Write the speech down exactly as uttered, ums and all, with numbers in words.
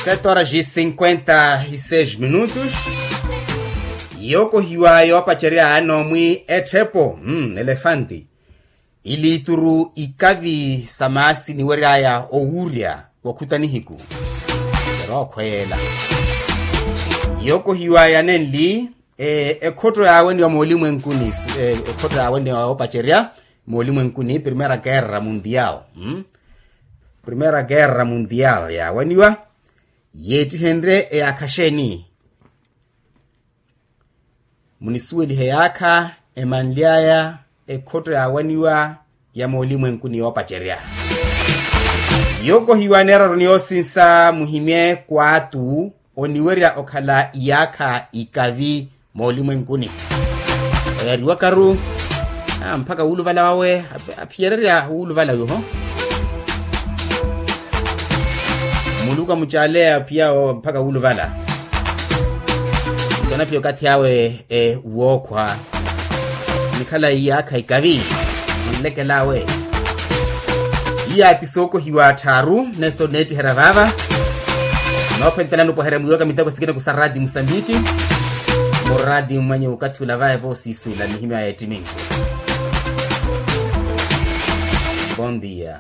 Sete horas e cinquenta e seis minutos. Yookohiwa yoopacerya yaani omwi etthepo, mm, elefanti, iliituru ikavi sa maasi niwery'aya owuurya wakhuta nihiku. Erookhweela yookohiwa yanenli, eh, ekhotto yaaweniwa moolimwenkuni, eh, ekhotto yaaweniwa yoopacerya moolimwenkuni primera kerra mundial, mm? Primera kerra mundial yaaweniwa, yeettihenrye eyaakha xeeni? Munisuwelihe yaakha emanly'aya ekhotto yaawaniwa ya moolimwenkuni yoopacerya. Yookohiwa neeraroni yoosinsa muhimye kwaatu oniwerya okhala iyaakha ikavi moolimwenkuni. Oyariwakaru, ah, mpakha wuuluvala wawe aphiyererya wuuluvala wiho. Muluku amucaaleya piyao mpakha wuuluvala. Nto anaphiya okathi awe wookhwa nikhala iyaakha ikavi. Anlekelawe iyaati sookohiwa atthaaru neso neettiherya vaava. Noophentelani opwaherya mwiiwaka miteko sikina kusa raati musambiki. Muraati mmanye okathi ula vaeva osiisula mihimyo ya ettimi. Bondia.